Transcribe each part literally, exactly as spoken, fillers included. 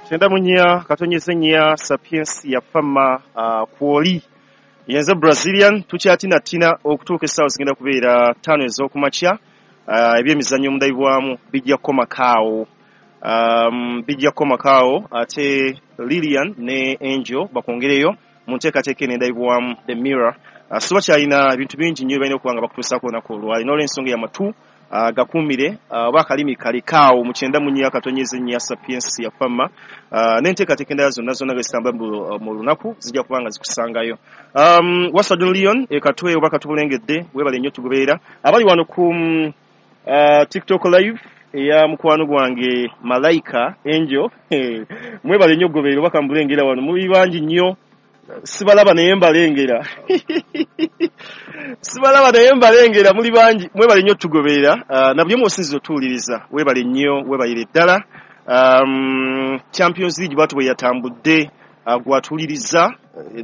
Kyenda mu nnya katonyeze nnya, Sapiensia Fama uh, kwoli yenze Brazilian. Tukyatinatina okutuuka essaawa zigenda kubeera ttaano ez'okumakya. uh, ebyemizannyo omundabibwamu bijja kukomakaawo, um, bijja kukomakaawo, ate Lilian ne Angel bakwongereyo mu nteekateeka eno endabibwamu The Mirror. uh, so bakyalina ebintu bingi nnyo balina okuba nga bakutuusaako olunaku olwali. N'olwensonga yamatu uh, gakuumire oba uh, akalimi kalikaawo mu kyenda mu nnya katonyeze nnya, Sapiensia Fama, uh, n'enteekateeka endala zonna zonna nga zitambula mu lunaku zijja kuba nga zikusangayo. um, Wasadon Leon ekatwe oba katubulengedde, webale nnyo tugoberera. Abali wano ku uh, TikTok Live eya mukwano gwange Malaika Angel, mwebale nnyo okugoberera oba kambulengera wano muli bangi nnyo, sibalaba naye mbalengera, sibalaba naye mbalengera, muli bangi, mwebale nnyo tugoberera. uh, na buli omu osinziza otuwuliriza, webale nnyo, webalire ddala. um, Champions League bwatu bwe yatambudde, uh, gwatuwuliriza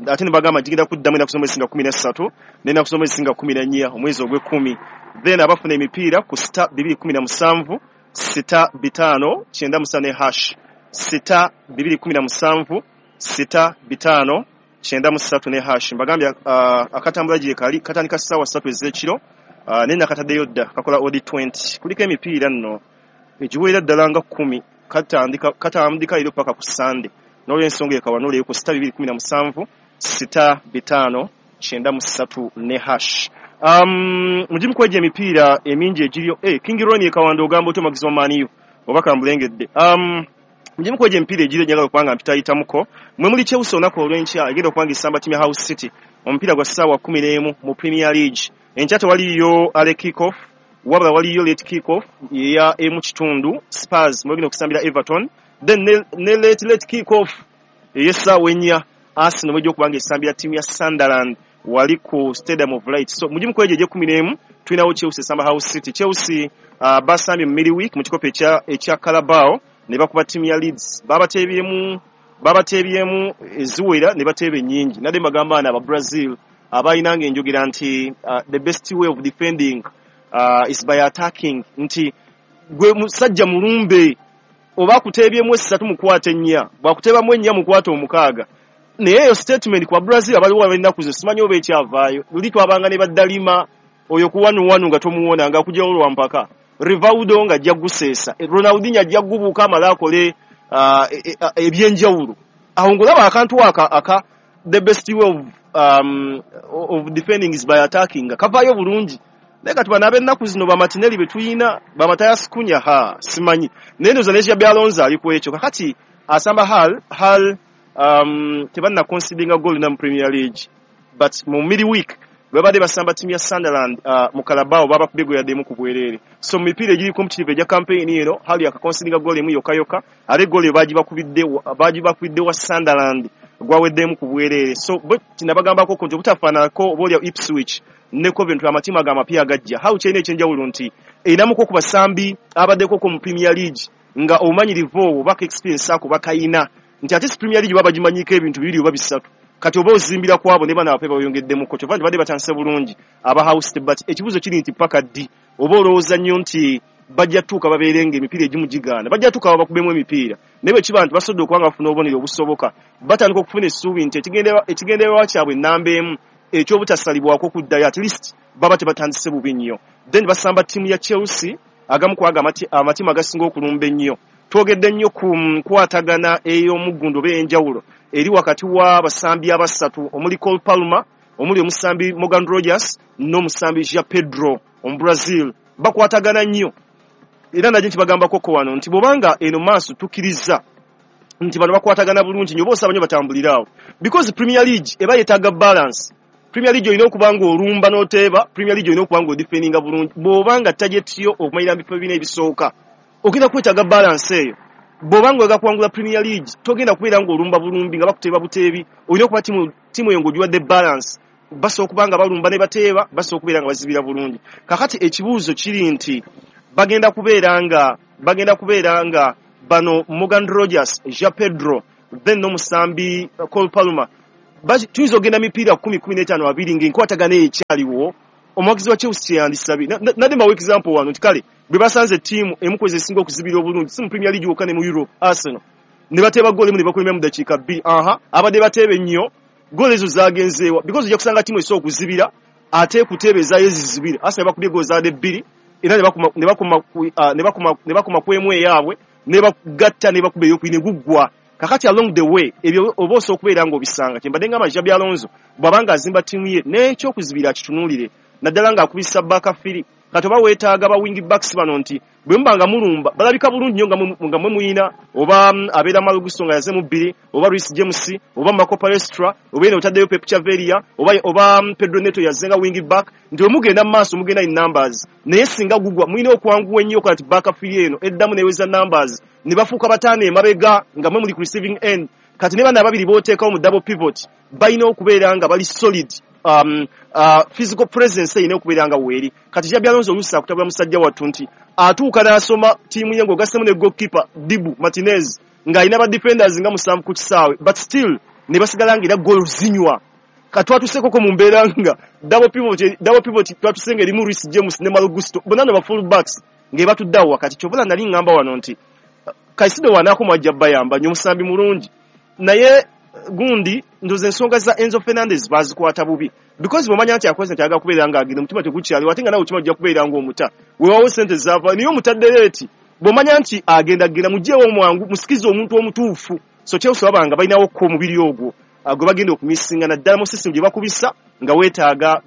ate ne bagamba gigenda kuddamu ennaku z'omwezi nga kumi na ssatu n'ennaku z'omwezi nga kumi na nnya omwezi ogw'ekkumi. Then abafuna emipiira ku star bibiri kumi na musanvu sita bitaano kyenda musa ne hash, sita bibiri kumi na musanvu sita bitaano kyenda mu ssatu ne hash. Mbagambye uh, akatambula gye kali katandika ssaawa ssatu ez'ekiro, uh, naye nakataddeyo dda kakola odi twenty. Kuliko emipiira nno egiwera ddala nga kkumi, katandika katandika leero paka ku Sande. N'olwensonga ekawa n'olyeyo ku sita bibiri kumi na musanvu sita bitaano kyenda mu ssatu ne hash. um, mugimu kwegyo emipiira emingi egiriyo, eh, King Ronnie ekawanda ogamba otya omuwagizi wa Man U oba kambulengedde. um, mugimu kwegyo emipiira egiriyo njagala okuba nga mpitayitamuko mwe muli Chelsea olunaku olw'enkya egenda okuba nga esamba ttiimu ya Hull City, omupiira gwa ssaawa kumi n'emu mu Premier League. Enkya tewaliyo early kick-off, wabula waliyo late kick-off eya emu kitundu, Spurs mwegenda okusambira Everton. Then ne, ne late late kick-off ey'essaawa ennya, Arsenal mwejja okuba nga esambira ttiimu ya Sunderland wali ku Stadium of Light. So mugimu kwegyo egy'ekkumi n'emu tulinawo Chelsea esamba Hull City. Chelsea uh, basambye mu midweek mu kikopo ekya ekya Carabao ne bakuba ttiimu ya Leeds, babateebyemu babateebyemu eziwera ne bateeba ennyingi. Nadde mbagamba ana aba Brazil abalinanga enjogera nti uh, the best way of defending uh, is by attacking, nti gwe musajja mulumbe, oba akuteebyemu essatu mukwate ennya, bw'akuteebamu ennya mukwate omukaaga. Naye eyo statement kwa Brazil abaliwo ab'ennaku zo simanyi oba ekyavaayo. Luli twabanga ne baddalima oyo ku wanu wanu nga tomuwona nga akugyawo lwa mpaka, Rivaldo nga ajja guseesa, Ronaldinho ajja gubuuka amale akole uh, ebyenjawulo. Awo ng'olaba akantu aka aka the best way of, um, of defending is by attacking nga kavaayo bulungi. Naye kati bano ab'ennaku zino ba Martinelli be tuyina, ba Matthias Cunha, ha simanyi, naye ndowooza ne Xabi Alonso ali ku ekyo. Kakati asamba Hull. Hull um, tebanna concedinga goal na mu Premier League, but mu midweek bwe babadde basamba ttiimu ya Sunderland uh, mu Carabao babakubye gwe yaddemu ku bwereere. So mu mipiira egiri competitive egya campaign eno, Hull yakaconcedinga goal emu yokka yokka, ate goal eyo bagibakubidde bagibakubidde wa Sunderland, gwaweddemu ku bwereere. So bwe kinabagambako nti obutafaananako oba olya Ipswich ne Coventry, amatiimu ago amapya agajja, Hull kyerina ekyenjawulo nti erinamuko ku basambi abaddeko mu Premier League nga obumanyirivu obwo baka experience ako bakayina, nti ate si Premier League baba bagimanyiko ebintu bibiri oba bisatu, kati oba ozimbira ku abo ne bano abape bayongeddemuko, kyova nti badde batandise bulungi aba Hull City. But ekibuuzo kiri nti paka ddi? Oba olowooza nnyo nti bajja tuuka babeere nga emipiira egimu gigaana, bajja tuuka babakubemu emipiira, naye bwe kiba nti basobodde okuba nga bafuna obubonero obusoboka, batandika okufuna essuubi nti ekigendererwa kyabwe ennamba emu ekyobutasalibwako kuddayo, at least baba tebatandise bubi nnyo. Then basamba ttiimu ya Chelsea, agamu ku ago amatiimu agasinga okulumba ennyo. Twogedde nnyo ku nkwatagana ey'omuggundu oba ey'enjawulo eri wakati w'abasambi abasatu omuli Cole Palmer, omuli omusambi Morgan Rogers n'omusambi João Pedro Omubrazil, bakwatagana nnyo. Era najje nkibagambako ko wano nti bw'obanga eno maaso tukkiriza nti bano bakwatagana bulungi nnyo, oba osaba nnyo batambulire awo, because Premier League eba yeetaaga balance. Premier League olina okuba ng'olumba n'oteeba, Premier League olina okuba ng'odefendinga bulungi. Bw'oba nga target yo okumalira mu bifo bina ebisooka, ogenda kwetaaga balance eyo. Bw'oba nga oyagala kuwangula Premier League, togenda kubeera ng'olumba bulumbi nga bakuteeba buteebi, olina okuba ttiimu eyo ng'ogiwadde balance, basobola okuba nga balumba ne bateeba, basobola okubeera nga bazibira bulungi. Kakati ekibuuzo kiri nti bagenda kubeera nga bagenda kubeera nga bano Morgan Rogers, João Pedro, then n'omusambi Cole Palmer, tuyinza okugenda mipiira kumi, kumi n'etaano, abiri ng'enkwatagana eyo ekyaliwo. Omuwagizi wa Chelsea kyeyandisabye, nadde mbawa example wano nti kale bwe basanze ttiimu emu kwezi esinga okuzibira obulungi si mu Premier League wokka ne mu Europe, Arsenal. Ne bateeba goal emu ne bakulembera mu dakiika bbiri. Aha, abadde bateebe nnyo, goal ezo zagenzeewa because ojja kusanga ttiimu esobola okuzibira ate kuteebeezaayo ezizibira. Arsenal bakubye goal zaadde bbiri era ne bakuma ne bakuma ne bakuma ne bakuma ku emu eyaabwe ne bagatta ne bakuba eyokubiri ne guggwa. Kakati along the way ebyo oba osobola okubeera ng'obisanga. Kyembadde ngamba Xabi Alonso bw'abanga azimba ttiimu ye n'ekyokuzibira akitunuulire, naddala ng'akubisa back three. Kati oba weetaaga ba wing backs bano nti bwe muba nga mulumba balabika bulungi nnyo nga mwe muyina, oba abeera Malo Gusto nga yaze mu bbiri, oba Reece James, oba Marco Palestra, oba eno otaddeyo Pep Chaveria, oba oba Pedro Neto yaze nga wing back, nti bwe mugenda mu maaso mugenda in numbers. Naye singa gugwa mulina okwanguwa ennyo okukola nti back three eno eddamu n'eweza numbers ne bafuuka bataano emabega nga mwe muli ku receiving end. Kati ne bano ababiri b'oteekawo mu double pivot balina okubeera nga bali solid. Um, uh, physical presence erina okubeera nga weeri. Kati Xabi Alonso oluusi akutabula musajja wattu nti atuuka n'asoma ttiimu ye ng'ogassemu ne goalkeeper Dibu Martinez ng'alina ba defenders nga musanvu ku kisaawe, but still ne basigala nga era goal zinywa. Kati twatuuseekoko mu mbeera nga double pivot, double pivot twatuse nga erimu Reece James ne Malo Gusto, bonna no ba full backs ng'ebatudde awo wakati. Ky'obola nali ŋŋamba wano nti Caicedo wanaakoma ajja bayamba nnyo, omusambi mulungi, naye gundi ndoza ensonga za Enzo Fernandez bazikwata bubi because bw'omanya nti akoze nti ayagala kubeera ng'agenda omutima tegukyaliwo, ate nga nawe omutima ojja kubeera ng'omuta weewaawo ssente zaava naye omutadde leeti. Bw'omanya nti agenda genda muggyeewo omwangu musikize omuntu omutuufu. So Chelsea babanga balinawo ko omubiri ogwo gwe bagenda okumisinga naddala mu system gye bakubisa nga weetaaga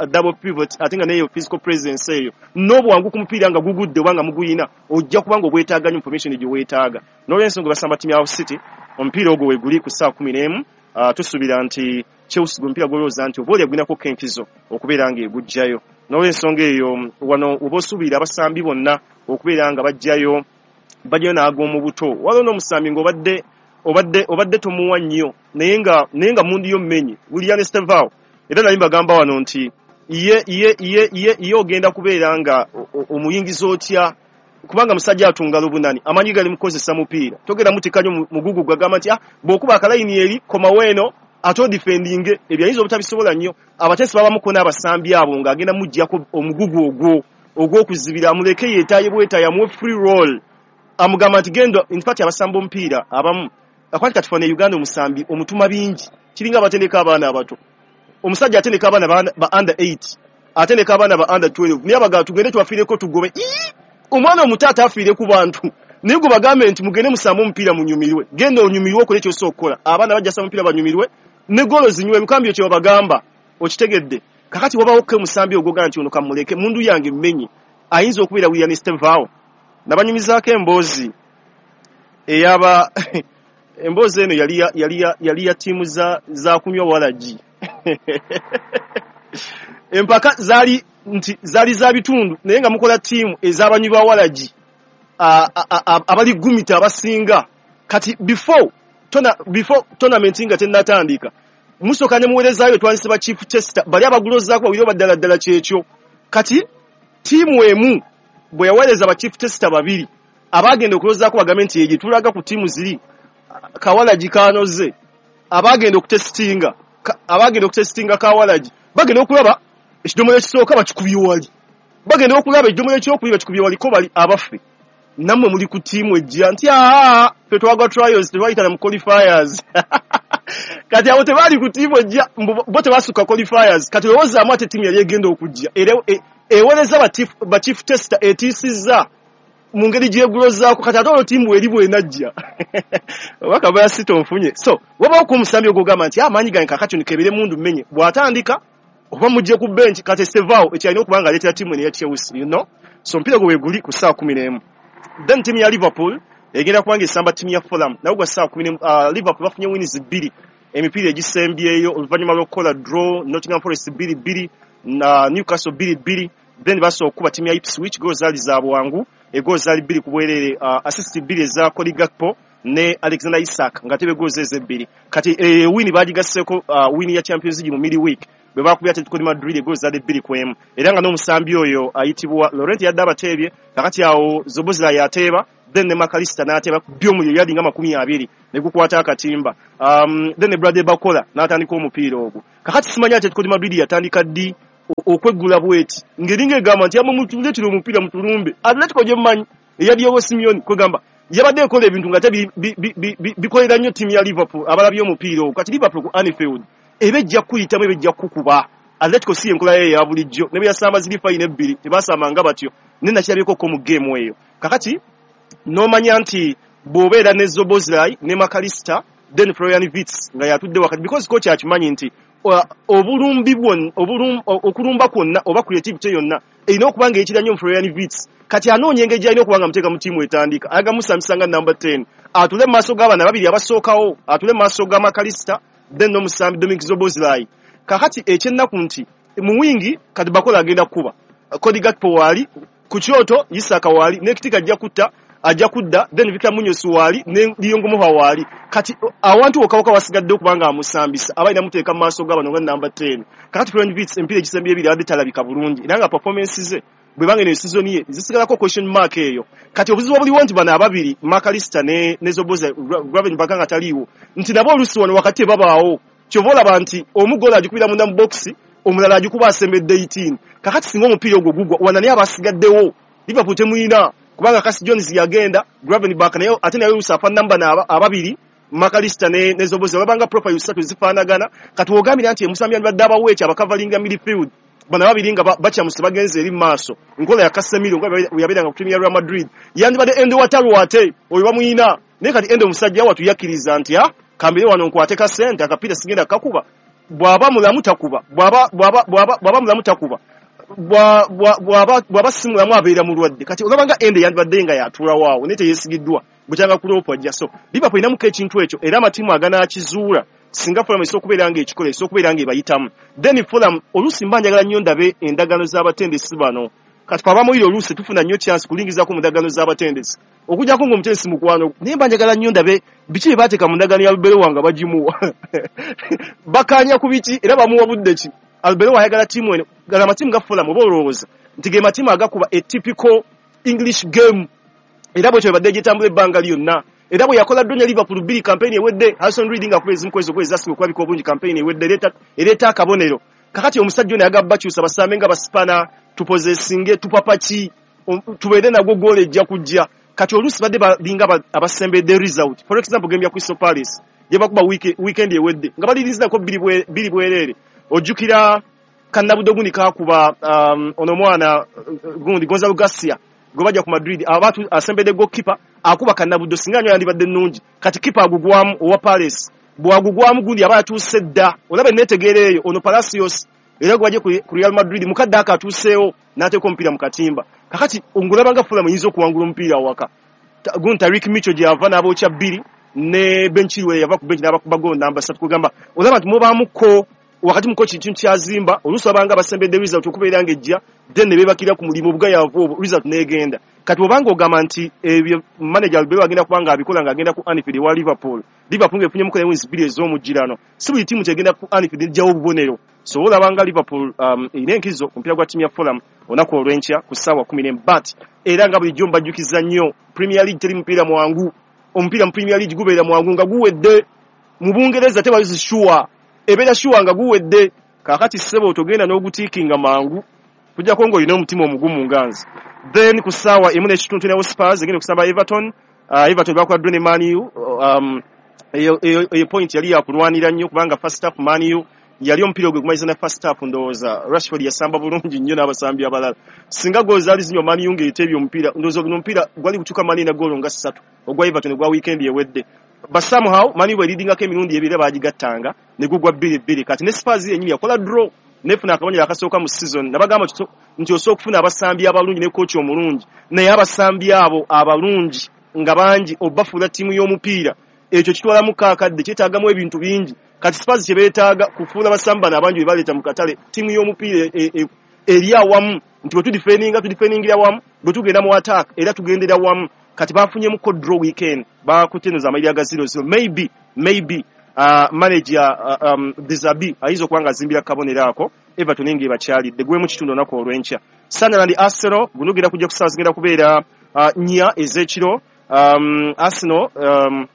double pivot, ate nga neyo physical presence eyo n'obwangu ku mupiira nga gugudde oba nga muguyina ojja kuba nga obwetaaga nnyo information gye weetaaga. N'olwensonga basamba ttiimu ya City omupiira ogwo weeguli ku ssaawa kumi n'emu. Uh, tusuubira nti Chelsea gwe mupiira gw'olowooza nti oba oli agulinako enkizo okubeera ng'eguggyayo. N'olwensonga eyo wano oba osuubira abasambi bonna okubeera nga bajjayo bajjayo n'ag'omu buto. Waliwo n'omusambi ng'obadde obadde obadde tomuwa nnyo naye nga naye nga mundu yo mmenye William Estevao, era nali mbagamba wano nti ye ye ye ye ye ogenda kubeera nga omuyingiza otya kubanga musajja atunga lubunani amanyi gali mukozesa mupiira togera mutika nnyo mugugu gwagamba nti ah bw'okuba akalayini eri komawo eno ate odifendinge ebyo ayinza obutabisobola nnyo. Abateesi babamuko n'abasambi abo ng'agenda muggyako omugugu ogwo ogw'okuzibira amuleke yeetaaye bwetaaye amuwe free roll amugamba nti genda. In fact abasamba omupiira abamu akwati kati fana Uganda omusambi omutuma bingi kiringa abatendeka abaana abato. Omusajja atendeka abaana ba under eight, atendeka abaana ba under twelve, naye abagala tugende tubafiireko tugobe. Omwana omuto ataafiire ku bantu naye gwe bagambe nti mugende musambe omupiira munyumirwe, genda onyumirwe okole ky'osobola okukola. Abaana bajja samba omupiira banyumirwe ne goolo zinywe ebikambyo kye babagamba okitegedde. Kakati wabawo ke omusambi ogwoga nti ono kamuleke mundu yange mmenye ayinza okubeera William Estevao. Nabanyumizaako emboozi eyaba emboozi eno yali yali yali ya ttiimu za za kunywa walagi. Empaka zaali nti zaali za bitundu naye nga mukola ttiimu ez'abanywi ba walagi abali gumita abasinga. Kati before tona before tournament nga tennatandika musooka ne muweerezaayo twandise ba chief tester bali abagulozaako babiri oba ddala ddala kyekyo. Kati ttiimu emu bwe yaweereza ba chief tester babiri abagenda okulozaako bagambe nti egye tulaga ku ttiimu ziri kawalagi kanoze, abagenda okutestinga abagenda okutestinga kawalagi bagenda okulaba ekidomola ekisooka bakikubye wali, bagenda okulaba ekidomola ekyokubiri bakikubye wali ko bali abaffe nammwe muli ku ttiimu ejja nti aa ffe twagwa trials tetwayita mu qualifiers. Kati abo tebaali ku ttiimu ejja bo tebasukka qualifiers. Kati lowoozaamu ate ttiimu yali egenda okujja era ewereza ba chief tester etiisizza mu ngeri gyegulozaako. Kati ate olwo ttiimu eri bw'enajja oba kabaya si tonfunye. So wabawo ku omusambi ogwogamba nti amaanyi gange kaakati ono keebere mundu mmenye bw'atandika oba mujje ku bench. Kati Estevao ekyalina okuba nga aleetera ttiimu eno eya Chelsea, you know. So omupiira gwe weeguli ku ssaawa kumi n'emu. Then ttiimu ya Liverpool egenda kuba nga esamba ttiimu ya Fulham nabo gwa ssaawa kumi n'emu. Uh, Liverpool bafunye wins bbiri emipiira egisembyeyo oluvannyuma lw'okukola draw Nottingham Forest bbiri bbiri na Newcastle bbiri bbiri. Then basobola okukuba ttiimu ya Ipswich goal zaali za bwangu egoal zaali bbiri ku bwereere, uh, assist bbiri eza Cody Gakpo ne Alexander Isak nga tebe goal ze ebbiri. Kati e, win bagigasseeko uh, win ya Champions League mu midweek bwe bakubye Atletico de Madrid egoal zaali bbiri ku emu, era nga n'omusambi oyo ayitibwa Laurent yadde abateebye. Kakati awo Zobozla yateeba then ne Makalista n'ateeba by'omuliro yali nga makumi abiri ne gukwata akatimba. Um, then ne Bradley Bakola n'atandika omupiira ogwo. Kakati simanya Atletico de Madrid yatandika ddi okweggula bweti ng'eringa egamba nti amwe mutuleetera omupiira mutulumbe. Atletico gye mmanyi eya Diego Simeone kwegamba Yabadde ekola ebintu nga te bikolera nnyo ttiimu ya Liverpool abalabye omupiira ogwo. Kati Liverpool ku Anfield eba ejja kukuyitamu, eba ejja kukuba. Atletico si enkola ye eya bulijjo, ne bwe yasamba ziri fayina ebbiri tebasambanga batyo, naye nakirabyeko mu geemu eyo. Kakati n'omanya nti bw'obeera ne Szoboszlai ne Mac Allister, then Florian Wirtz nga yatudde wakati, because coach akimanyi nti obulumbi bwonna, okulumba kwonna oba creativity yonna erina okuba nga ekira nnyo mu Florian Wirtz. Kati anoonya engeri gy'alina okuba nga amuteeka mu ttiimu etandika, ayagala musambisa nga number ten, atule mu maaso g'abaana babiri abasookawo, atule mu maaso ga Mac Allister then n'omusambi Dominic Szoboszlai. Kakati ekyennaku nti mu wingi kati Bakola agenda kukuba, Cody Gakpo waali ku kyoto, Isaka waali, ne Kitika ajja kutta ajja kudda, then Victor Munoz waali ne Liyongo waali. Kati awantu wokka wokka wasigadde okuba nga amusambisa aba alina muteeka mu maaso g'abano nga number ten. Kakati Florian Wirtz emipiira egisembye ebiri abadde talabika bulungi, era nga performance ze bwe banga eno season ye zisigalako question mark eyo. Kati obuzibu obuliwo nti bano ababiri Mac Allister ne ne Szoboszlai, Gravenberch nga taliiwo, nti nabo oluusi wano wakati babaawo, kyova olaba nti omu goal agikubira munda mu box, omulala agikuba asembedde eighteen. Kakati singa omupiira ogwo gugwa wana naye abasigaddewo Liverpool temuyina, kubanga Curtis Jones yagenda, Gravenberch naye ate naye oluusi afaanana bano ababiri Mac Allister ne ne Szoboszlai babanga profile ssatu zifaanagana. Kati wogambira nti omusambi yandibadde abawa ekyo abakavalinga midfield, bano ababiri nga bakyamuse bagenze eri mu maaso, nkola ya Casemiro nga bwe yabeeranga ku ttiimu ya Real Madrid, yandibadde Endo Wataru ate oyo bamuyina. Naye kati Endo omusajja watu yakkiriza nti ah, kambire wano nkwate ka ssente, akapiira sigenda kakuba, bw'aba mulamu takuba, bw'aba bw'aba bw'aba mulamu takuba, bw'aba bw'aba si mulamu abeera mulwadde. Kati olaba nga Endo yandibadde nga yatuulawo awo, naye teyeesigiddwa bukyanga Klopp ajja. So Liverpool erinamuko ekintu ekyo, era amatiimu aganaakizuula singa Fulham esobola okubeera ng'ekikola, esobola okubeera ng'ebayitamu. Then Fulham oluusi mba njagala nnyo ndabe endagaano z'abatendesi bano. Kati ffe abamawulire oluusi tufuna nnyo chance kulingizaako mu ndagaano z'abatendesi, okuggyako ng'omutendesi mukwano, naye mba njagala nnyo ndabe biki bye baateeka mu ndagaano ya Arbeloa nga bagimuwa bakkaanya ku biki era bamuwa budde ki. Arbeloa ayagala ttiimu eno, gala amatiimu ga Fulham oba olowooza nti ge matiimu agakuba a typical English game, era bwetyo bwe badde gitambula ebbanga lyonna. Era bwe yakola draw ne Liverpool bbiri campaign ewedde, Harrison Reed ng'akuba ezimu ku ezo goal ezasinga okulabika obulungi campaign ewedde, ereeta akabonero. Kakati omusajja ono ayagala bakyusa basambe nga basipana, tupozesinge, tupapaki, tubeere nagwo goal ejja kujja. Kati oluusi badde balinga abasembedde result. For example, game ya Crystal Palace gye bakuba weekend ewedde nga balirizinako bbiri bwereere. Ojjukira Kannabudo gundi kakuba ono omwana gundi Gonzalo Garcia gwe bajja ku Madrid, aba asembedde goalkeeper akuba Kannabudo, singa nnyo yandibadde nnungi. Kati keeper agugwamu owa Palace, bw'agugwamu gundi aba yatuuse dda. Olaba enneetegeera eyo, ono Palacios era gwe bajja ku Real Madrid mukadde ako atuuseewo n'ateeka omupiira mu katimba. Kakati ngulaba nga Fulham eyinza okuwangula omupiira awaka. Gundi Tariq Micho gy'ava n'abookya bbiri, ne Ben Chilwell yava ku bench n'abakuba goal namba ssatu. Kugamba olaba nti mubaamuko wakati muko kintu kyazimba, oluusi abanga basembedde result okubeera ng'ejja, then ne beebakira ku mulimu obugayaavu obwo, result n'egenda. Kati obanga ogamba nti ebyo manager Arbeloa agenda kuba ng'abikola ng'agenda ku Anfield ewa Liverpool, Liverpool ng'efunyemuko ne wins bbiri ez'omugirano, si buli ttiimu kyegenda ku Anfield n'eggyawo obubonero. So olaba nga Liverpool um, erina enkizo ku mupiira gwa ttiimu ya Fulham olunaku olw'enkya ku ssaawa kkumi n'emu. But era nga bulijjo mbajjukiza nnyo, Premier League teri mupiira mwangu. Omupiira mu Premier League gubeera mwangu nga guwedde. Mu Bungereza tebalizi sure, ebeera sure nga guwedde. Kaakati ssebo togenda n'ogutiikinga mangu, kujjako ng'olina omutima omugumu nga nze. Then ku ssaawa emu n'ekitundu tulinawo Spurs egenda okusamba Everton. Uh, Everton bakola draw ne Man U. Um, eyo, eyo, eyo point yali yakulwanira nnyo kubanga first half Man U yali omupiira ogwe gumaliza na first half, ndowooza Rashford yasamba bulungi nnyo n'abasambi abalala. Singa goal zaali zinywa Man U ng'eteebye omupiira, ndowooza guno omupiira gwali gutuuka Man U na goal nga ssatu ogwa Everton ogwa weekend ewedde. But somehow Man U bwe emirundi ebiri baagigattanga ne gugwa bbiri bbiri. Kati ne Spurs yennyini yakola draw nefuna akabonero akasooka mu season. Nabagamba nti osobola okufuna abasambi abalungi ne coach omulungi, naye abasambi abo abalungi nga bangi obafuula ttiimu y'omupiira, ekyo kitwalamu kaakadde, kyetaagamu ebintu bingi. Kati Spurs kye beetaaga kufuula basambi bano abangi be baleeta mu katale ttiimu y'omupiira eri awamu, nti bwe tudifendinga tudifendingira wamu, bwe tugenda mu attack era tugendera wamu. Kati bafunyemuko draw weekend, bakutenuza amayirya ga zero zero. Maybe maybe uh, manager uh, um, De Zerbi ayinza okuba nga azimbira kabonero ako Everton ng'ebakyalidde gwemu kitundu olunaku olw'enkya. Sunderland Arsenal guno genda kujja ku ssaawa zigenda kubeera uh, nnya ez'ekiro. Um, Arsenal um,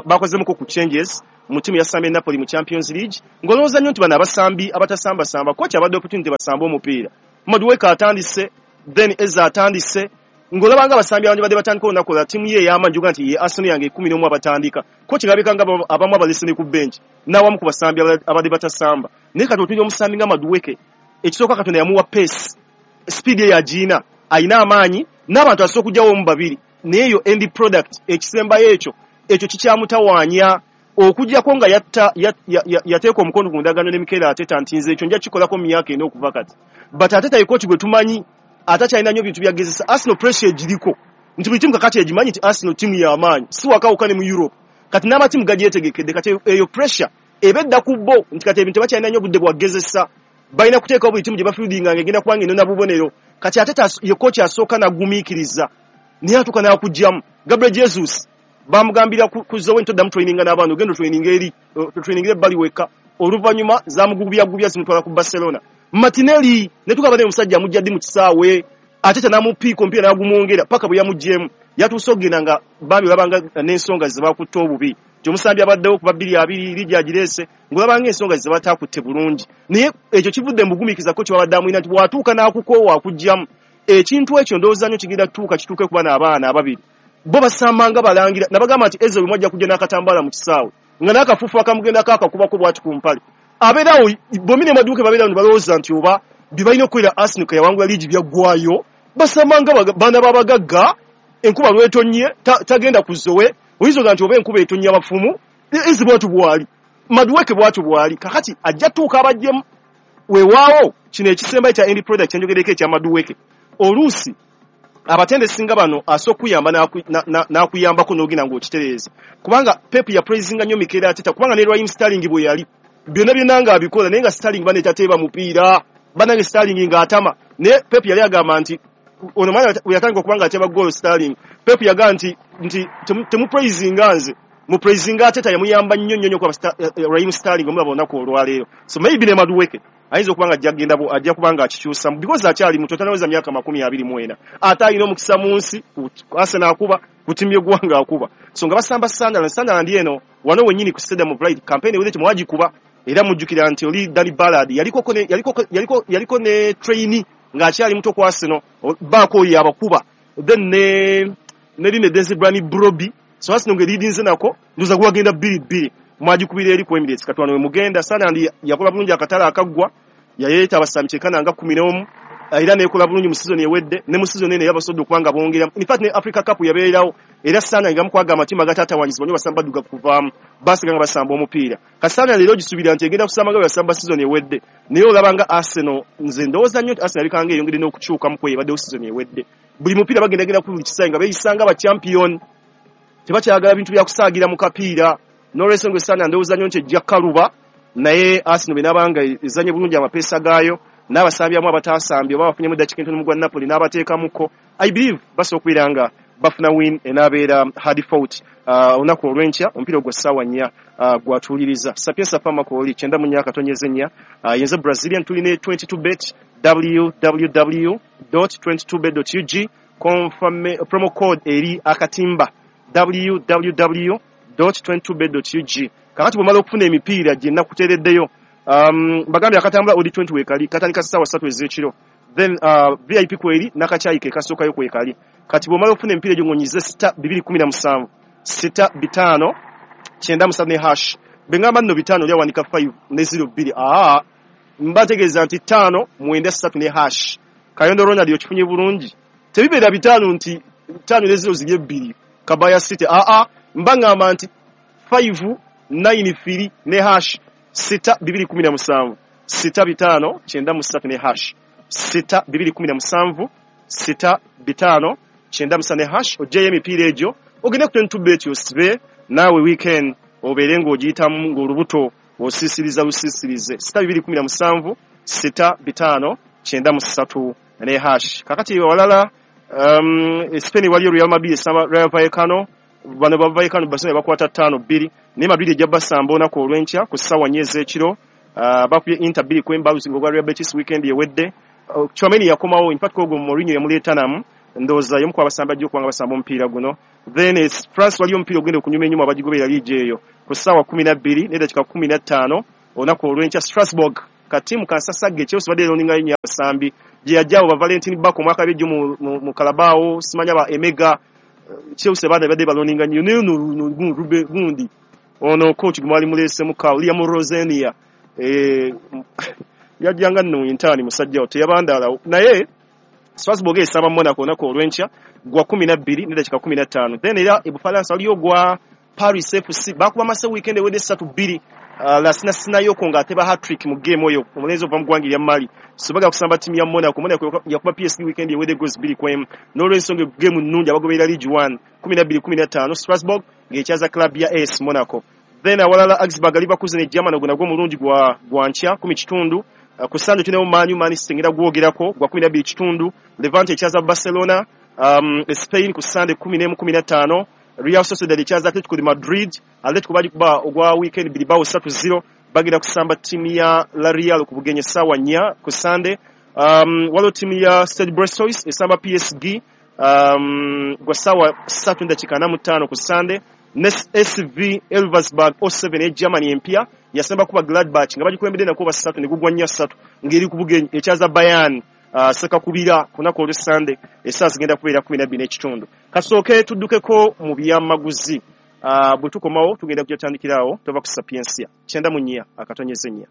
bakozemuko ba, ba ku changes mu ttiimu yasambye Napoli mu Champions League, ng'olowooza nnyo nti bano abasambi abatasambasamba coach abadde opportunity basambe omupiira. Madueke atandise, then Eze atandise, Ng'olaba nga abasambi abandi badde batandika olunaku olwa ttiimu ye ey'amaanyi oga nti ye Arsenal yange ekkumi n'omu abatandika. Ko kirabika nga abamu abalese ne ku bench n'awamu ku basambi abadde batasamba. Naye kati otunuulira omusambi nga Madueke, ekisooka Katonda yamuwa pace, speed ye yagiina, alina amaanyi n'abantu asobola okugyawo omu babiri. Naye eyo end product ekisembayo ekyo ekyo kikyamutawaanya okuggyako nga yatta yateeka omukono ku ndagaano ne Mikel Arteta nti nze ekyo nja kikolako mu myaka ena okuva kati. But Arteta ye coach gwe tumanyi ate akyalina nnyo bintu byagezesa. Arsenal pressure egiriko nti buli ttiimu kakati egimanyi nti Arsenal ttiimu y'amaanyi si wakawuka ne mu Europe. Kati n'amatiimu gagyetegekedde, kati eyo pressure eba edda ku bo nti kati ebintu tebakyalina nnyo budde bwagezesa, balina kuteekawo buli ttiimu gye bafieldinga ng'egenda kubanga enona bubonero. Kati Arteta ye coach asooka n'agumiikiriza naye atuuka n'akuggyamu. Gabriel Jesus bamugambira ku Zoe nti oddamu traininga n'abaana, ogenda otraininga eri otrainingira ebbali wekka. Oluvannyuma zamugubyagubya zimutwala ku Barcelona. Martinelli ne tugamba naye omusajja amujja ddi mu kisaawe, Arteta n'amupiika omupiira n'agumwongera paka bwe yamuggyemu. Yatuuse okugenda nga bambi olabanga n'ensonga ze bakutte obubi. Nti omusambi abaddewo kuba bbiri abiri liigi agireese ng'olabanga ensonga ze bataakutte bulungi. Naye ekyo kivudde mu bugumiikiriza ko kyebabadde amulina nti bw'atuuka n'akukoowa akuggyamu. Ekintu ekyo ndowooza nnyo kigenda kutuuka kituuke ku bano abaana ababiri. Bo basamba nga balangira nabagamba nti Eze lumu ajja kujja n'akatambaala mu kisaawe nga n'akafuufu akamugendako akakubako bw'ati ku mpale. Abeerawo bombi ne Madueke babeerawo ne balowooza nti oba bye balina okukolera Arsenal ke yawangula liigi byaggwaayo. Basamba nga baana b'abagagga, enkuba lw'etonnye tagenda ku Zoe, oyinza oga nti oba enkuba etonnya abafumu. Eze bw'atyo bw'ali, Madueke bw'atyo bw'ali. Kakati ajja tuuka abaggyemu. Weewaawo kino ekisembayo kya end product kyenjogereko ekya Madueke, oluusi abatendesi nga bano asooka okuyamba n'akuyambako n'ogenda ng'okitereeza, kubanga Pep yapraisinga nnyo Mikel Arteta, kubanga ne Raheem Sterling bwe yali byonna byonna ng'abikola, naye nga Sterling bane tateeba mupiira, bannange Sterling ng'atama. Naye Pep yali agamba nti ono mwana bwe yatandika okuba ng'ateeba goal Sterling, Pep yagamba nti nti temupraisinga nze, mupraisinga Arteta. Yamuyamba nnyo nnyo nnyo kuba Raheem Sterling omulaba olunaku olwaleero. So maybe ne Madueke ayinza okuba nga ajja kugenda ajja kuba nga akikyusa because akyali muto, tanaweza myaka makumi abiri mu ena, ate alina omukisa mu nsi. Arsenal akuba, ku ttiimu y'eggwanga akuba. So nga basamba Sunderland, Sunderland eno wano wennyini ku Stadium of Light campaign ewedde temwagikuba, era mujjukira nti oli Danny Ballard yaliko yaliko yaliko yaliko ne trainee ng'akyali muto ku Arsenal, baako oyo abakuba, then ne ne line Desire Brobbey. So Arsenal ng'eridinze nako ndoza gwagenda bbiri bbiri, mwagikubira eri ku Emirates. Kati wano we mugenda, Sunderland yakola bulungi akatale akaggwa, yaleeta abasambi kyenkana nga kkumi n'omu, era neekola bulungi mu season ewedde ne mu season eno yabasobodde okuba nga bongera. In fact ne Africa Cup yabeererawo, era Sunderland nga mukwaga amatiimu agataatawanyizibwa nnyo basamba baddugavu kuvaamu, basiga nga basamba omupiira. Kati Sunderland leero ogisuubira nti egenda kusamba nga bwe yasamba season ewedde, naye olaba nga Arsenal, nze ndowooza nnyo nti Arsenal erikanga eyongedde n'okukyukamu kwe ebaddewo season ewedde. Buli mupiira bagendagenda ku buli kisaawe nga beeyisa nga bachampion, tebakyagala bintu bya kusaagira mu kapiira. N'olwensonga Sunderland ndowooza nnyo nti ejja kkaluba, naye Arsenal bwe naabanga ezanye bulungi amapeesa gaayo n'abasambi abamu abataasambye oba bafunyemu eddakiika entono mu gwa Napoli n'abateekamuko, I believe basobola okubeera nga bafuna win enaabeera hard fought olunaku uh, olw'enkya. Omupiira ogwo ssaawa nnya uh, gwatuuliriza Sapienza Pharmacy kyenda mu nnya akatonyeza ennya. uh, yenze Brazilian, tulina twenty-two bet, w w w twenty-two bet ug, confirm promo code eri akatimba, w w w twenty-two bet ug. Kakati bw'omala okufuna emipiira gye nakuteereddeyo, um, mbagambye akatambula odi twenty weekali katandika ssaawa ssatu ez'ekiro, then uh, V I P kweri n'akacyayi ke kasookayo kwekali. Kati bw'omala okufuna emipiira egyo ng'onyize sita bibiri kumi na musanvu sita bitaano kyenda musatu ne hash. Bwe ngamba nno bitaano lyawanika five ne zero bbiri, aa mba ntegeeza nti ttaano mwenda ssatu ne hash. Kayondo Ronald, okifunye bulungi? Tebibeera bitaano nti ttaano ne zero ziri ebbiri Kabaya City, aa mba ngamba nti five nine three ne hash, sita bibiri kumi na musanvu sita bitaano kyenda mu ssatu ne hash, sita bibiri kumi na musanvu sita bitaano kyenda mu ssatu ne hash. Oggyeyo emipiira egyo ogende ku twenty-two bet osibe naawe weekend obeere ng'ogiyitamu ng'olubuto osiisiriza lusiisirize. Sita bibiri kumi na musanvu sita bitaano kyenda mu ssatu ne hash. Kakati walala, um, Spain waliyo Real Madrid esamba Rayo Vallecano. Bano ba Vallecano Barcelona bakwata ttaano bbiri, naye Madrid ejja basamba olunaku olw'enkya ku ssaawa nnya ez'ekiro. uh, bakubye Inter bbiri ku emu ng'ogwa Real Betis weekend ewedde. uh, Tchouameni yakomawo, in fact ogwo Mourinho yamuleeta namu, ndowooza y'omu ku abasambi ajja okuba nga basamba omupiira guno. Then France waliyo omupiira ogenda okunyuma enyuma abagigoberera liigi eyo ku ssaawa kumi na bbiri n'eddakiika kumi na ttaano olunaku olw'enkya, Strasbourg Katimu kansasagge Chelsea badde eroninga nnyo abasambi gye yajjawo ba Valentin Bako omwaka bejjo mu, mu, mu Carabao, simanya ba Emega. Chelsea badde badde baloninga nnyo naye ono Rube gundi ono coach gwali muleese muka Liam Rosenia eh yajjanga nno intani musajja teyabandala. Naye Strasbourg esamba Monaco nako olwenkya gwa kumi na bbiri n'eddakiika kumi na ttaano. Then era e Bufalansa waliyo gwa Paris F C bakuba Mase weekend ewedde ssatu bbiri. Uh, Lasina Sinayoko nga ateba hat-trick mu game oyo omulenzi ova mu ggwanga erya Mali. So baga kusamba ttiimu ya Monaco. Monaco yakuba P S G weekend ewedde goals bbiri ku emu. N'olwensonga game nnungi abagoberera League One kumi na bbiri kumi na ttaano Strasbourg ng'ekyaza club ya A S Monaco. Then awalala Augsburg Leverkusen e Germany ogwo nagwo mulungi gwa gwa nkya kumi kitundu. Uh, ku Sunday tulinawo Man U Man City ngenda gwogerako gwa kumi na bbiri kitundu. Levante ekyaza Barcelona. Um, Spain ku Sunday kumi n'emu kumi na ttaano. Real Sociedad ekyaza Atletico de Madrid. Atletico bagikuba ogwa weekend Bilbao ssatu zero. Bagenda kusamba ttiimu ya La Real ku bugenyi essaawa nnya ku Sunday. Um, waliwo ttiimu ya Stade Brestois esamba P S G um, gwa ssaawa ssatu n'eddakiika ana mu ttaano ku Sunday. Ne S V Elversberg oh seven e Germany empya yasamba kuba Gladbach nga bagikulembedde nako basatu ne gugwa nnya ssatu ng'eri ku bugenyi ekyaza Bayern uh, Sekakubira ku lunaku olw'e Sunday essaawa zigenda kubeera kumi na bbiri n'ekitundu. Kasooke tuddukeko mu byamaguzi. Uh, bwe tukomawo tugenda kujja tutandikirawo tova ku Sapiensia kyenda mu nnya akatonyeze nnya.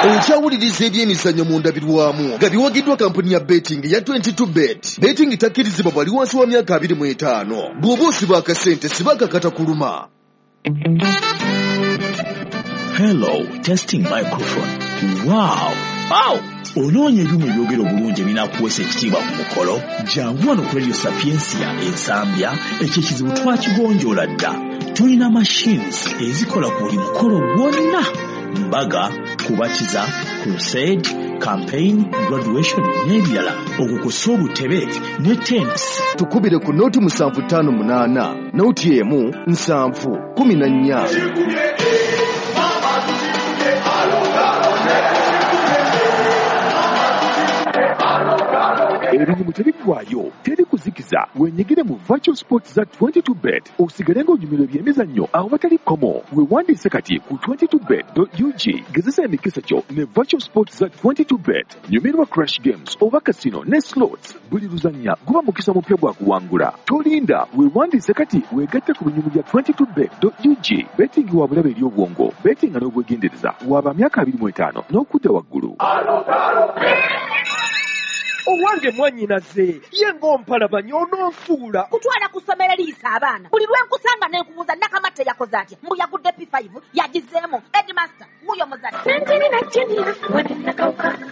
Okyawuliriza ebyemizannyo mu ndabirwamu nga biwagiddwa kampuni ya betting ya twenty-two bet. Betting takkirizibwa bwali wansi wa myaka abiri mu etaano. Bw'oba osiba akasente siba akakata kuluma. Hello, testing microphone. Wow! Wow! Onoonya ebyuma ebyogera obulungi ebinaakuweesa ekitiibwa ku mukolo? Jangu wano ku Radio Sapiensia Ensambya, ekyo ekizibu twakigonjoola dda. Tulina machines ezikola ku buli mukolo gwonna. Mbaga, kubatiza, crusade, campaign, graduation n'ebirala. Okwo kw'ossa obutebe ne tents. Tukubire ku noti musanvu ttaano munaana, noti emu nsanvu kumi na nnya. Ebinyumu tebiggwaayo, teri kuzikiza. Wenyigire mu virtual sports za twenty-two bet osigale ng'onyumirwa ebyemizannyo awatali kkomo. Weewandiise kati ku twenty-two bet dot U G. Gezesa emikisa gyo ne virtual sports za twenty-two bet. Nyumirwa crash games oba casino ne slots. Buli luzannya guba mukisa mupya gwa kuwangula. Tolinda, weewandiise kati weegatte ku binyumu bya twenty-two bet dot U G. Betting wa bulabe eri obwongo, betting n'obwegendereza. Waba myaka abiri mu etaano n'okudda waggulu. Owange mwannyinaze ye ng'ompalabanya ononsuula. Kutwala ku ssomero liisa abaana. Buli lwe nkusanga ne nkubuuza Nakamatte yakoze atya? Mbu yagudde P five yagizeemu. Headmaster wuuyo muzadde.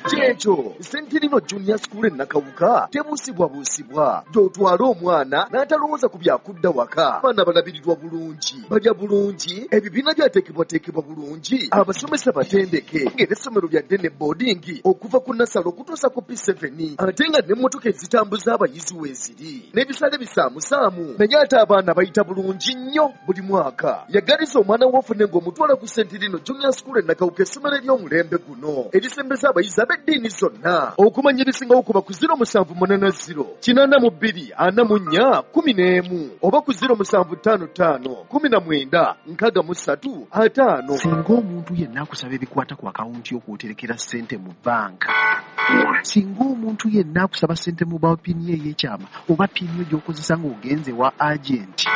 Kyekyo Sentinino Junior School e Nakawuka tebuusibwabuusibwa. Gy'otwala omwana n'atalowooza ku byakudda waka. Abaana balabirirwa bulungi, balya bulungi, ebibiina byateekebwateekebwa bulungi, abasomesa batendeke ng'era essomero lya ddene boarding okuva ku nasale okutuusa ku P seven. Ate nga n'emmotoka ezitambuza abayizi weeziri n'ebisale bisaamusaamu, naye ate abaana bayita bulungi nnyo buli mwaka. Yagaliza omwana w'ofune ng'omutwala ku Sentinino Junior School e Nakawuka, essomero ery'omulembe guno erisembeza abayizi ab'eddiini zonna. Okumanya ebisingawo kuba ku zero musanvu munaana zero kinaana mu bbiri ana mu nnya kumi n'emu oba ku zero musanvu ttaano ttaano kumi na mwenda nkaaga mu ssatu ataano. Singa omuntu yenna akusaba ebikwata ku akawunti y'okwoterekera ssente mu banka, singa omuntu yenna akusaba ssente mu ba pini ey'ekyama oba pini yo gy'okozesa ng'ogenze wa agenti,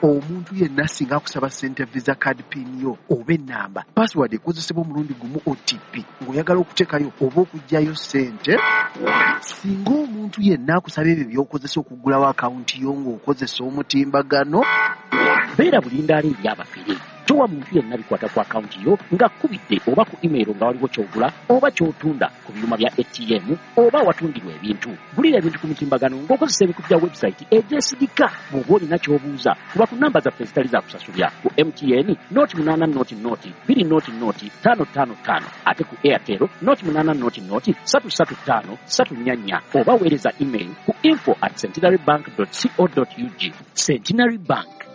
omuntu yenna singa akusaba ssente visa card pin yo oba ennamba password ekozesebwa omulundi gumu O T P ng'oyagala okuteekayo oba okuggyayo ssente, singa omuntu yenna akusaba ebyo by'okozesa okuggulawo akawunti yo ng'okozesa omutimbagano, beera bulindaala eri abafere. Towa muntu yenna bikwata ku akawunti yo ng'akubidde oba ku email nga waliwo ky'ogula oba ky'otunda ku byuma bya A T M oba awatundirwa ebintu. Gulira ebintu ku mitimbagano ng'okozesa ebikutu bya website egyesigika. Bw'oba olina ky'obuuza kuba ku namba zaffe ezitali za kusasulya ku M T N noti munaana noti noti bbiri noti noti ttaano ttaano ttaano, ate ku Airtel noti munaana noti noti ssatu ssatu ttaano ssatu nnya nnya, oba weereza email ku info at centenary bank dot co dot ug. Centenary Bank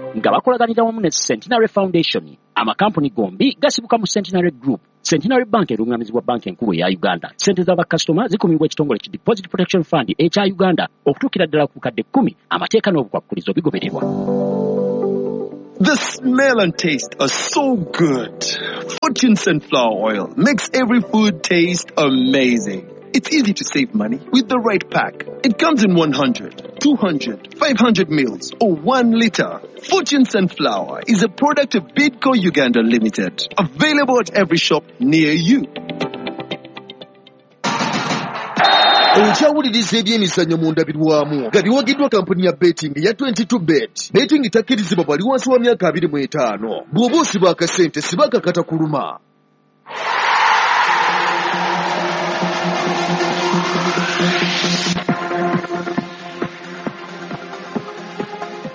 nga bakolaganira wamu ne Centenary Foundation. Amakampuni gombi gasibuka mu Centenary Group. Centenary Bank erungamizibwa banka enkulu eya Uganda. Ssente z'abakasitoma zikumibwa ekitongole ki Deposit Protection Fund ekya Uganda okutuukira ddala ku bukadde kkumi. Amateeka n'obukwakkulizo bigobererwa. The smell and taste are so good. Fortune Sunflower Oil makes every food taste amazing. It's easy to save money with the right pack. It comes in one hundred, two hundred, five hundred mils or one liter. Fortune Sunflower is a product of Bidco Uganda Limited. Available at every shop near you. Okyawuliriza ebyemizannyo mu ndabirwamu nga biwagiddwa kampuni ya betting ya twenty-two bet. Betting takkirizibwa bali wansi wa myaka abiri mu etaano. Bw'oba osiba akasente siba akakata kuluma.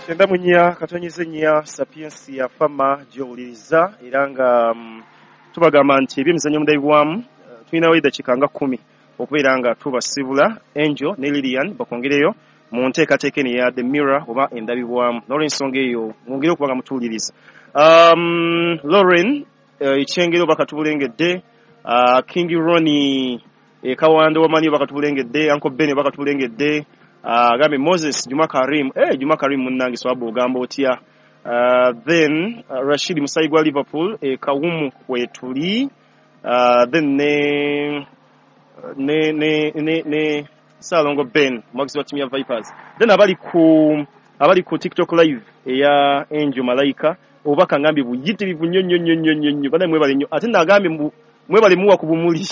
Kyenda mu nnya katonyeze nnya Sapiensia Fama gy'owuliriza era nga um, tubagamba nti ebyemizannyo mu ndabirwamu uh, tulinawo eddakiika nga kkumi okubeera nga tubasibula. Angel ne Lilian bakwongereyo mu nteekateeka eno eya The Mirror oba endabibwamu. N'olwensonga eyo mwongere okuba nga mutuwuliriza. Um, Lauren ekyengero uh, oba katubulengedde, uh, King Ronnie e Kawanda wamanyi oba katubulengedde, Uncle Ben oba katubulengedde, agambe uh, Moses Juma Karim, eh Juma Karim munnange swabu ogamba otya. Uh, then uh, Rashid Musayi gwa Liverpool e Kawumu kwetuli, uh, then ne ne ne ne ne Salongo Ben mwagizi wa timu ya Vipers. Then abali ku abali ku TikTok live eya Angel Malaika obubaka ngambye buyitirivu nnyo nnyo nnyo nnyo nnyo bana mwebale nnyo, ate nagambye mwebale muwa ku bumuli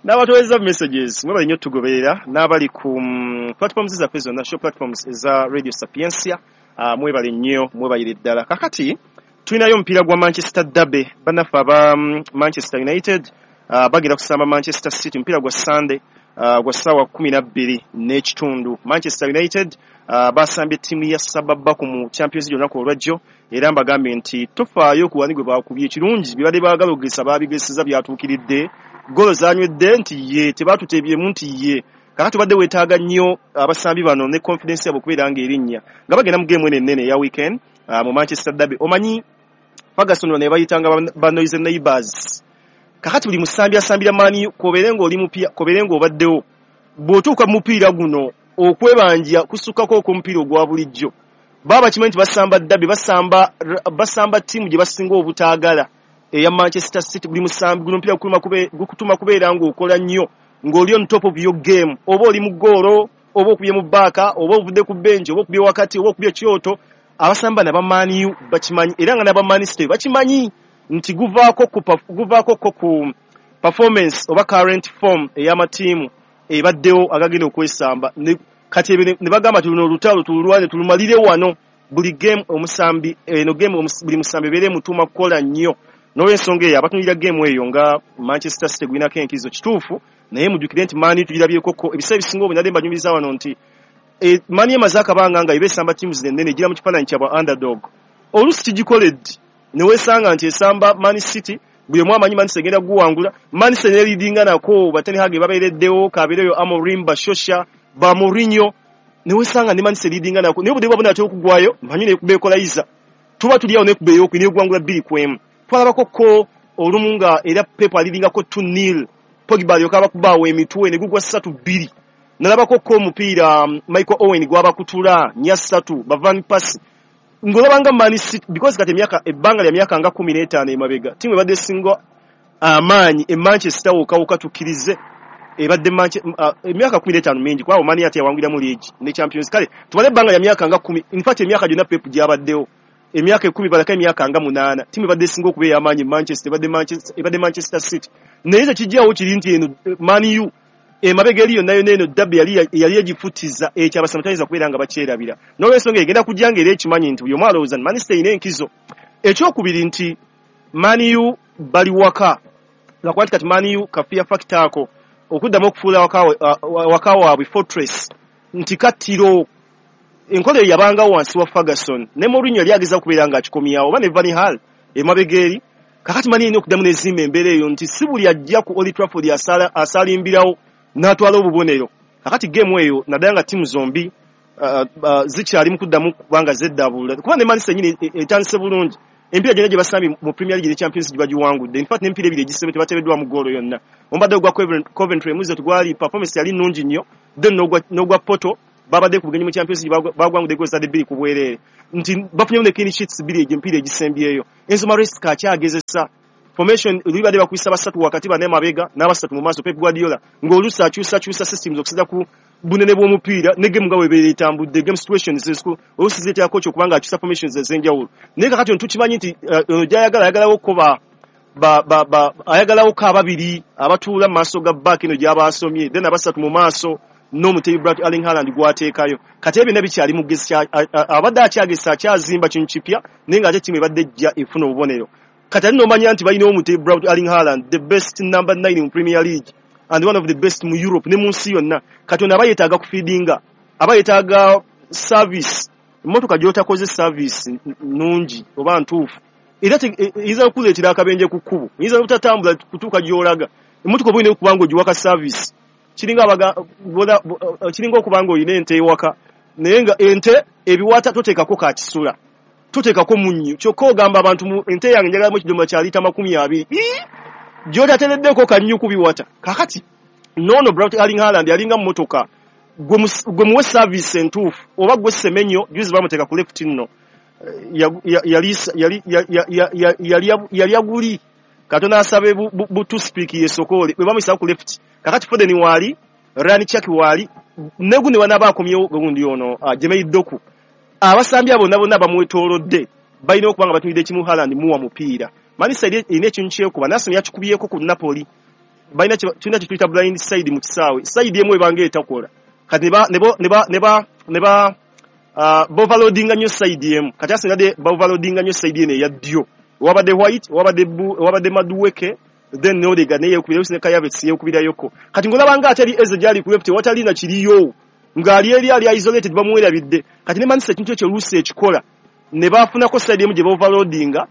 n'abatoweza messages mwebale nnyo tugoberera n'abali ku um, platforms zaffe zonna show platforms eza Radio Sapiensia, uh, mwebale nnyo mwebalire ddala. Kakati tulinayo omupiira gwa Manchester Derby, bannaffe aba um, Manchester United Uh, bagira kusamba Manchester City mpira gwa Sunday uh, gwa sawa kumi na bbiri n'ekitundu. Manchester United uh, basambye ttiimu ya Sababaku mu Champions League olunaku olwajjo, era mbagambye nti tofaayo ku wani gwe bakubye ekirungi bibadde baagala okugesa baabigesiza byatuukiridde, golo zanywedde nti ye tebaatuteebyemu nti ye. Kakati obadde weetaaga nnyo abasambi bano ne confidence yabwe okubeera ng'erinnya nga bagenda mu game eno ennene eya weekend uh, mu Manchester Derby. Omanyi Ferguson wano yabayitanga ba noisy neighbors. Kakati buli musambi asambira maani kobeere ng'oli mupya kobeere ng'obaddewo bw'otuuka mu mupiira guno okwebanja kusukkako okw'omupiira ogwa bulijjo. Baba bakimanyi nti basamba derby, basamba basamba ttiimu gye basinga obutaagala eya Manchester City. Buli musambi guno omupiira gukutuma kubeera ng'okola nnyo ng'oli on top of your game, oba oli mu ggoolo oba okubye mu bbaaka oba ovudde ku bench oba okubye wakati oba okubye kyoto. Abasamba n'aba Man U bakimanyi era nga n'aba Man City bakimanyi nti guvaako ku guvaako ko ku performance oba current form ey'amatiimu ebaddewo agagenda okwesamba. Kati ebyo ne bagamba nti luno olutalo tululwane tulumalire wano. Buli game omusambi eno game buli musambi ebeere emutuuma kukola nnyo. N'olwensonga eyo abatunulira game eyo nga Manchester City gulinako enkizo kituufu, naye mujjukire nti Man U tugirabyekoko ebiseera ebisinga obungi. Nadde mbanyumiza wano nti e, Man U emaze akabanga nga eba esamba ttiimu zino ennene egira mu kifaananyi kya bwa underdog. Oluusi kigikoledde ne weesanga nti esamba Man City, buli omu amanyi Man City egenda kuguwangula. Man City neeridinga nako ba Ten Hag babeereddewo, kabeereyo Amorim, ba Solskjaer, ba Mourinho, ne weesanga ne Man City eridinga nako naye obudde bwabona atera okugwayo manyi nekuba equalizer, tuba tuli awo nekuba ey'okubiri n'eguwangula bbiri ku emu. Twalabako ko olumu nga era Pep alidingako two nil, Pogba alyoka abakubaawo emitwe ne gugwa ssatu bbiri. Nalabako ko omupiira um, Michael Owen gwabakutula nnya ssatu ba Van Persie. Ngolabanga Man City because kati emyaka ebbanga lya myaka nga kumi n'etaano emabega ttiimu ebadde esinga amaanyi e Manchester wokawuka tukkirize ebadde uh, emyaka kumi n'etaano mingi kubanga Man ate yawanguliramu league ne Champions. Kale tubale ebbanga lya myaka nga kumi, in fact emyaka gyonna Pep gy'abaddewo emyaka ekkumi balako emyaka nga munaana ttiimu ebadde esinga okuba ey'amaanyi e Manchester ebadde Manchester, ebadde Manchester City. Naye tekijjawo kiri nti eno Man U emabega eri yonna yonna eno derby yali yali egifutiza ekyo abasambi tayinza kubeera nga bakyerabira. N'olwensonga egenda kujja ng'era ekimanyi nti buli omu alowooza nti Man City erina enkizo. Ekyokubiri nti Man U bali waka, lwakuba nti kati Man U ka fear factor ako okuddamu okufuula waka, waka waabwe fortress nti kattiro enkola eyo yabangawo wansi wa Ferguson ne Mourinho yali agezaako okubeera ng'akikomyawo oba ne Van Gaal emabega eri. Kakati Man U erina okuddamu n'ezimba embeera eyo nti si buli ajja ku Old Trafford asalimbirawo n'atwala obubonero. Kakati game eyo naddala nga ttiimu zombi uh, uh, zikyali mu kuddamu kubanga zeddaabulula, kuba ne Man City yennyini etandise bulungi. Emipiira gyonna gye basambye mu Premier League ne Champions League bagiwangudde. In fact n'emipiira ebiri egisembye tebateebeddwamu ggoolo yonna. Omubadde ogwa Coventry emuze tegwali performance yali nnungi nnyo, then n'ogwa Porto Babadde ku bugenyi mu Champions League bagwangudde goal zadde bbiri ku bwereere, nti bafunye ne clean sheets bbiri egy'emipiira egisembyeyo. Enzo Maresca akyagezesa formation, libadde bakuyisa basatu wakati, bane mabega n'abasatu mu maaso. Pep Guardiola ng'oluusi akyusakyusa systems okusinziira ku bunene bw'omupiira ne game nga webeera etambudde, game situations oluusi zireetera coach okubanga akyusa formations ez'enjawulo. Naye kakati ono tukimanyi nti ono gy'ayagala ayagalawo ko ba ba ba ba ayagalawo ko ababiri abatuula mu maaso ga back eno gy'aba asomye, then abasatu mu maaso n'omutebi Brad Erling Haaland gw'ateekayo. Kati ebyo byonna bikyali mu gesi, abadde akyagesa akyazimba kintu kipya, naye ng'ate ttiimu ebadde ejja efuna obubonero. Kati ate n'omanya nti balina omutebi Brad Erling Haaland, the best number nine mu Premier League and one of the best mu Europe ne mu nsi yonna. Kati ono aba yeetaaga kufeedinga, aba yeetaaga service. Emmotoka gy'otakoze service nnungi oba ntuufu era eyinza okukuleetera akabenje ku kkubo, eyinza n'obutatambula kutuuka gy'olaga. Emmotoka oba olina okuba ng'ogiwaka service, kiringa abaga kiringa okuba ng'olina ente ewaka, naye nga ente ebiwata toteekako ka kisula, toteekako munnyo, kyokka ogamba abantu ente yange njagalamu ekidomola kya liita makumi abiri gy'otateereddeko kannyu ku biwata. Kaakati n'ono Brad Erling Haaland alinga mmotoka, gwe muwe service entuufu oba gwe Semenyo, juzi bamuteeka ku left nno yali aguli Katonda asabe bu toothpick yesokoole bwe bamuyisa ku left. Kakati Foden waali, Ryan Cherki waali, ne gundi wanaaba akomyewo gundi ono Jermaine Doku. Abasambi abo bonna bonna bamwetoolodde balina okuba nga batunulidde kimu Haaland muwa mupiira. Man City erina ekintu kyekuba, Arsenal yakikubyeko ku Napoli. Balina tulina kye tuyita blind side mu kisaawe, side emu ebanga etakola. Kati ne ba ne ba ne ba ne ba boverloadinga nnyo side emu. Kati Arsenal yadde boverloadinga nnyo side eno eya ddyo. Wabadde White, wabadde wabadde Madueke, then Odegaard naye yeekubirayo ne Kai Havertz yeekubirayoko. Kati ng'olaba nga ate Eze gy'ali ku left watali na kiriyo, ng'ali eri ali isolated bamwerabidde. Kati ne Man City ekintu ekyo oluusi ekikola ne bafunako side emu gye boverloadinga,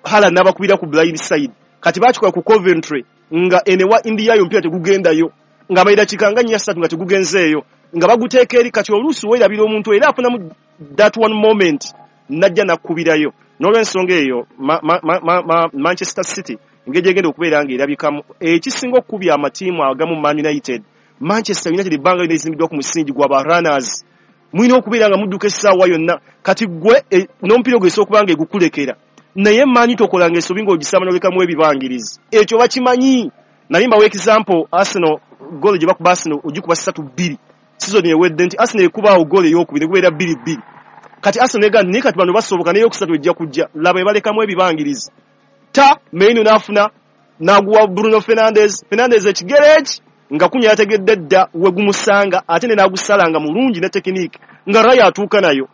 Haaland n'abakubira ku blind side. Kati baakikola ku Coventry nga eno ewa India yo omupiira tegugendayo, nga amadakiika nga nnya ssatu nga tegugenzeeyo, nga baguteeka eri. Kati oluusi weerabira omuntu era afunamu that one moment n'ajja n'akkubirayo. N'olw'ensonga eyo ma, ma, ma, ma, Manchester City engeri egenda okubeera ng'erabikamu ekisinga okukubya amatiimu agamu Man United. Manchester United ebbanga lyonna ezimbiddwa ku musingi gwa ba runners, mulina okubeera nga mudduka essaawa yonna. Kati gwe e, n'omupiira ogwo esobola okuba nga egukulekera, naye Man tokolanga ensobi ng'ogisamba n'olekamu ebibangirizi. Ekyo bakimanyi. Nali mbawa example Arsenal goal gye bakuba Arsenal ogikuba ssatu bbiri season ewedde, nti Arsenal ekubaawo goal ey'okubiri negubeera bbiri bbiri. Kati Arsenal egamba naye kati bano basoboka n'eyokusatu ejja kujja, laba ebalekamu ebibangirizi. Ta Mainoo n'afuna n'aguwa Bruno Fernandes, Fernandes ekigere eki nga kunya yategedde dda we gumusanga, ate ne n'agusalanga mulungi ne technique nga Raya atuuka nayo.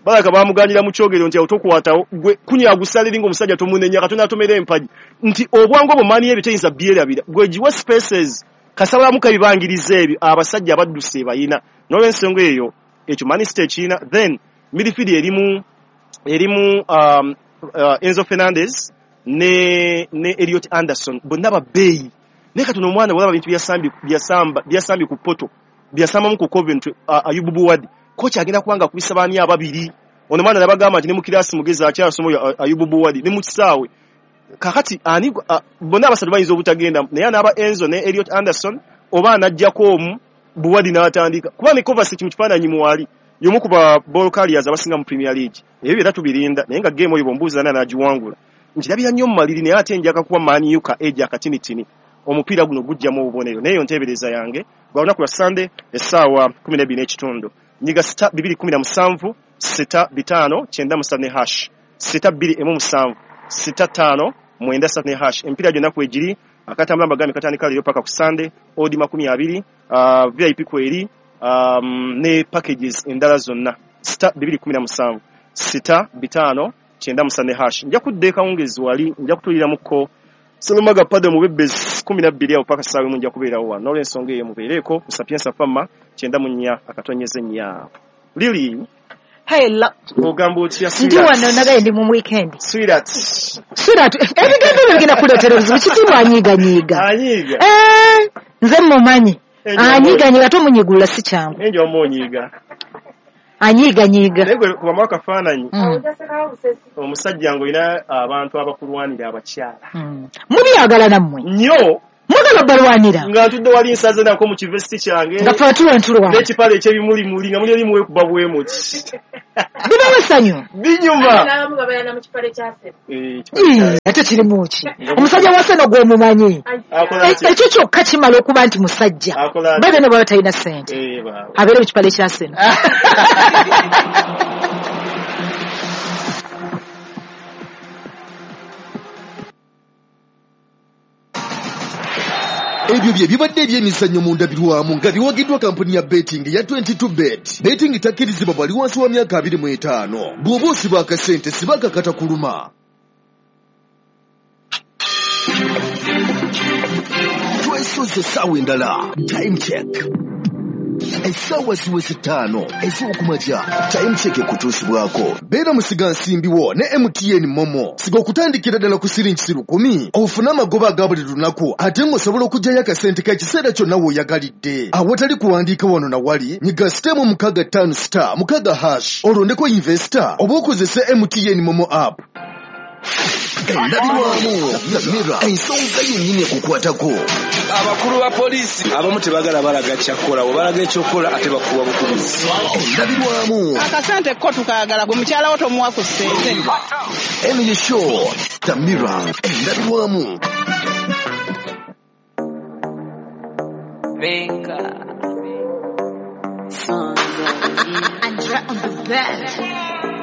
Balaka bamuganyira mu kyogero nti awo tokwatawo gwe kunya agusala eri ng'omusajja tomunenya, Katonda atomera empagi nti obwangu obwo maani ebyo teyinza byerabira. Gwe giwe spaces kasabalamu kabibangiriza ebyo abasajja abadduse bayina. N'olw'ensonga eyo ekyo Man City ekirina. Then midfield erimu erimu um, uh, Enzo Fernandez ne ne Elliot Anderson, bonna babbeeyi. Naye kati ono omwana bw'olaba bintu byasambye byasamba byasambye ku Porto, byasambamu ku Coventry, uh, Ayub Bouadi, coach agenda kubanga akubisa baani ababiri. Ono mwana nabagamba nti ne mu kirasi mugezi akyasoma oyo Ayub Bouadi ne mu kisaawe. Kakati ani uh, bonna abasatu bayinza obutagenda, naye anaaba Enzo ne Elliot Anderson oba anaggyako omu Bouadi n'atandika. Kuba ne Kovacic mu kifaananyi mwali y'omu ku ba ball carriers abasinga mu Premier League. Ebyo byonna tubirinda, naye nga game oyo bw'ombuuza ani anaagiwangula, nkirabira nnyo mu maliri, naye ate njaga kuba Man U ka age akatinitini. Omupiira guno gujjamu obubonero. Naye eyo nteebereza yange gwa lunaku lwa Sunday essaawa kumi n'ebbiri n'ekitundu. Nyiga sita bibiri kumi na musanvu sita bitaano kyenda musatu ne hash sita bbiri emu musanvu sita ttaano mwenda ssatu ne hash. Emipiira gyonna kwegiri akatambula mbagambye katandika leero paka ku Sunday odi makumi abiri, uh, V I P kweri, um, ne packages endala zonna sita bibiri kumi na musanvu sita bitaano kyenda musatu ne hash. Nja kudda ekawungezi wali nja kutuuliramuko Salomaga Pado mu bebezi kumi na bbiri awo paka ssaawa emu nja kubeerawo wano. N'olw'ensonga eyo mubeereeko ku Sapienza Fama kyenda mu nnya akatonyeze nnya. Lily, Hello. Ogamba otya? Ndi wano nagaye ndi mu weekend. Sweetheart. Sweetheart, ebigambo ebyo bigenda kuleetera obuzibu. Kitiibwa anyiiganyiiga. Anyiiga. Eh, nze mmumanyi. Anyiiganyiiga tomunyigula si kyangu. Enjo omunyiiga. Anyiiganyiiga. Naye gwe kuba akafaananyi. Omusajja ng'olina abantu abakulwanira abakyala. Mubyagala nammwe. Nnyo. Mwagala balwanira. Nga ntudde wali nsaze nako mu kivesti kyange. Nga ffe tulwa. N'ekipale ekyebimulimuli nga muli eri muwekuba bwe muti. Bibawo essanyu. Binyuma. N'abamu babeera na mu kipale kya Seno. Ii, ate kirimu ki? Omusajja wa Seno gw'omumanyi. Ekyo kyokka kimala okuba nti musajja. Babe ne bw'aba talina ssente. Abeere mu kipale kya Seno. Ebyo bye bibadde ebyemizannyo mu ndabirwamu nga biwagiddwa kampuni ya betting ya twenty-two bet. Betting takkirizibwa bali wansi wa myaka abiri mu etaano. Bw'oba osiba akasente siba akakata kuluma. Twesoze essaawa endala. Time check. Essaawa ziweze ttaano ez'okumakya. Time check ekutuusibwako. Beera musigansimbi wo ne M T N Momo. Siga okutandikira ddala ku siringi lukumi ofune amagoba aga buli lunaku ate ng'osobola okuggyayo akasente k'ekiseera kyonna w'oyagalidde. Awatali kuwandiika wano na wali, nyiga sitemu mukaaga ttaano star mukaaga hash olondeko investor oba okozese M T N Momo app. Endabirwamu Mira ensonga yennyini ekukwatako. Abakulu ba poliisi abamu tebagala balaga kyakukola, bwe balaga ekyokukola ate bakuwa bukubizi. Endabirwamu akasente ko tukaagala gwe mukyala wo tomuwa ku ssente. Emily Shaw, The Mirror, endabirwamu. Andrea on the bed.